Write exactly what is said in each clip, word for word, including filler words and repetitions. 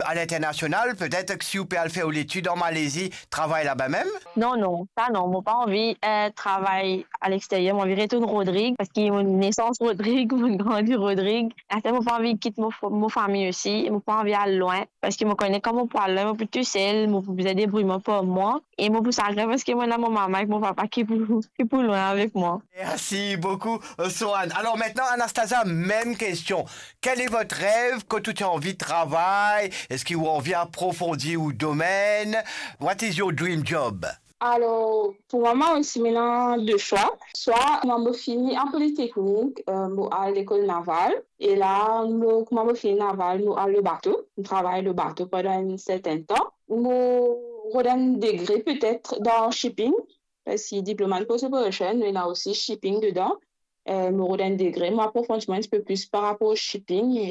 a linternasional, petet ki si ou pe al fer ou letid an Malezi, travay laba mem? Non, non, sa non, mo pa anvi, eh, travay a lexteryer, mo anvi retourn Rodrig, parski mo nesans Rodrig, mo grandi Rodrig. Aster mo pa anvi kit mo, mo fami osi, mo pa anvi al lwin, parski mo kone kan mo pou al lwin, mo pou tousel, mo pou bizin debrouy mwa par mwa, e mo pou sagrin parski mo ena mo mama ek mo papa ki pou, ki pou lwin avek mwa. Merci beaucoup, Soane. Alors maintenant, Anastasia, même question. Quel est votre rêve? Kot ou ti anvi travay? Eski ou anvi aprofondi ou domenn? What is your dream job? Alor, pou mwa, mwa osi, mo ena de swa. Swa mwa, mo fini an politeknik, eh, mo al lekol naval. E la, mo, kouma mo fini naval, mo al lor bato. Mo travay lor bato pandan enn sertenn tan. Mo rod enn degre petet dan shipping, parski diploma in post operation, nou ena osi shipping dedan. Eh, mo rod enn degre, mo aprofondi mwa enn tipe plis par rapor shipping e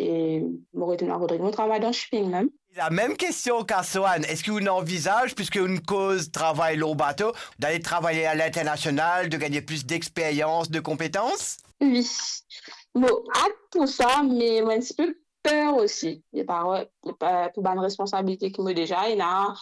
mo retourn a Rodrig, mo travay dan shipping mem. La même question qu'à Soane, eski ou anvizaz, puisque ou koz travay lor bato, d'aller travailler à l'international, de gagner plus d'expérience, de compétences? Wi. Mo at pou sa, me mo enn tipe per osi. Li pa, li pa, pou bann responsabilite ki mo deza ena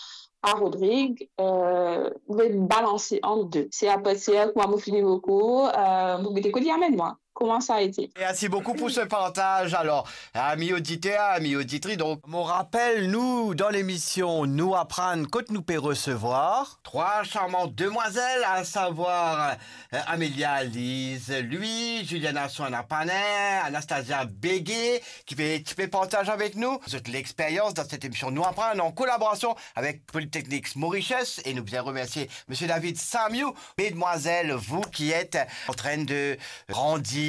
a Rodrig, eh, mo balanse ant de. Se apartir kouma mo fini mo kour, eh, mo gete kot li amenn mwa. Comment ça a été? Merci beaucoup pour ce partage. Alors, amis auditeurs, amis auditrices, donc, mo rapel nou, dan lemision Nou Aprann, kot nou pe resevwar trwa charmant demwazel, a savwar, eh, Amelia Lise Louis, Juliana Soana Panin, Anastasia Bégué, ki pe, ki pe partaz avek nou zot lexperyans dan set emision Nou Aprann, an kolaborasion avek Polytechnique Mauritius, e nou bizin remersie Monsieur David Samiou. Mesdemoiselles, vous qui êtes en train de grandir,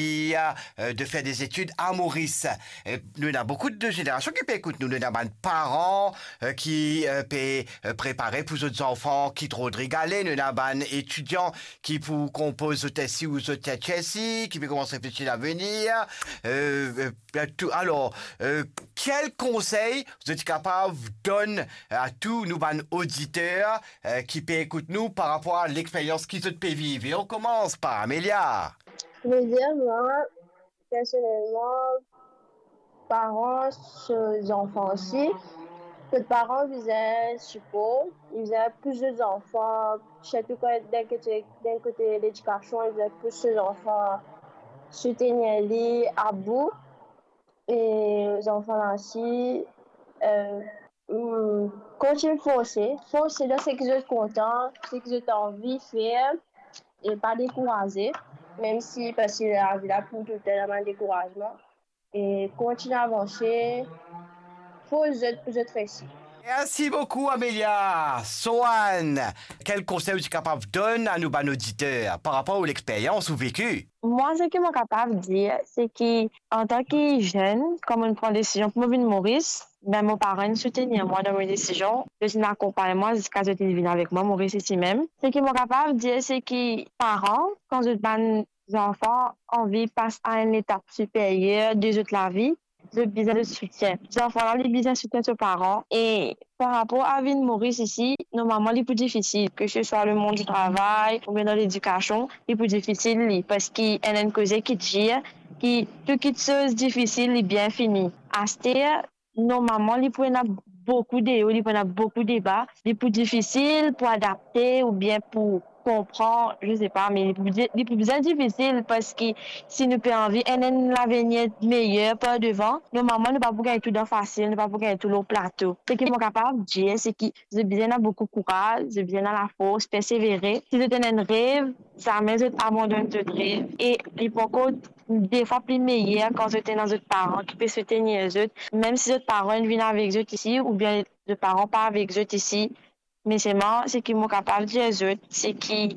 euh, de faire des études à Maurice, euh, nou ena boukou de zenerasion ki pe ekout nou. Nou ena bann paran, euh, ki, euh, pe, euh, prepare pou zot zanfan kit Rodrig ale. Nou ena bann etidian ki pou konpoz zot S C I ou zot H S C I, ki pe koumans reflesi lavenir. Euh, euh, tou, alor, euh, kel konsey zot ti kapav donn a tou nou bann oditer, eh, ki pe ekout nou par rapor a lexperyans ki zot pe viv. E on koumans par Amelia. Mo dir, mwa, personelman, paran, so zanfan osi, kot paran bizin sipor, bizin pous zot zanfan, sirtou kan dan kote, dan kote ledikasion, bizin pous so zanfan, soutenir li abou. E zanfan la osi, eh, hmm, kontign forse, forse dan seki zot kontan, seki zot anvi fer, e pa dekouraze, mem si, parski lavi la pou toultan ena bann dekourazman, e kontign avanse, fors zot pou zot resi. Merci beaucoup, Amelia. Soane, kel konsey ou ti kapav donn a nou bann oditer par rapor ou lexperyans ou veki? Mwa, seki mo kapav dir, seki antan ki zenn, kan mo'nn pran desizion pou mo vinn Moris, be mo paran inn soutenir mwa dan mo desizion, zot inn akonpagn mwa ziska zot inn vinn avek mwa Moris isi mem. Seki mo kapav dir, seki paran, kan zot bann zanfan anvi pas a enn letap siperyer de zot lavi, zot bizin zot soutien. Zanfan la, li bizin soutien so paran. E par rapor a vinn Moris isi, normalman, li pou difisil, ke se swa lemond di travay oubien dan ledikasion, li pou difisil, li, parski ena enn koze ki dir, ki tou kitsoz difisil, li bien fini. Aster, normalman, li pou ena boukou de o, li pou ena boukou de ba, li pou difisil pou adapte oubien pou konpran, je sais pas, me li pou, li pou bizin difisil, parski si nou pe anvi enn, enn lavenir meyer par devan, normalman, nou pa pou gagn tou dan fasil, nou pa pou gagn tou lor plato. Seki mo kapav dir, seki zot bizin ena boukou kouraz, zot bizin ena lafors, persevere. Si zot ena enn rev, zame zot abandonn zot rev. E li pou ankor de fwa pli meyer kan zot ena zot paran ki pe soutenir zot, mem si zot paran inn vinn avek zot isi, oubien zot paran pa avek zot isi. Me selman, seki mo kapav dir zot, seki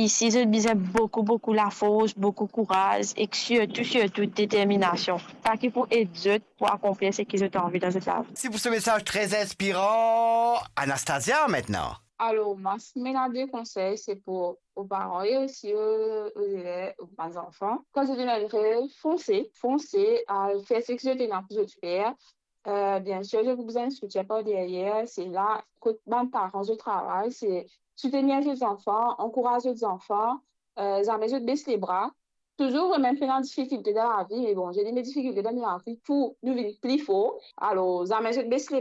isi zot bizin boukou, boukou lafors, boukou kouraz, ek sirtou, sirtou determinasion. Sa ki pou ed zot pou akonplir seki zot anvi dan zot lavi. Merci pour ce message très inspirant. Anastasia, maintenant. Alor, mwa, si mo ena de konsey, se pou ou paran e osi, eh, ou zeler, ou bann zanfan. Kan zot ena enn rev, fonse, fonse, al fer seki zot ena pou zot fer. Eh, biensir, zot pou bizin soutien par deryer, se la kot bann paran zot travay, se soutenir zot zanfan, ankouraz zot zanfan, eh, zame zot bes lebra. Touzour, mem pena difikilte dan lavi, me bon, zot ena difikilte dan lavi pou nou vinn pli for. Alor, zame zot bes lebra.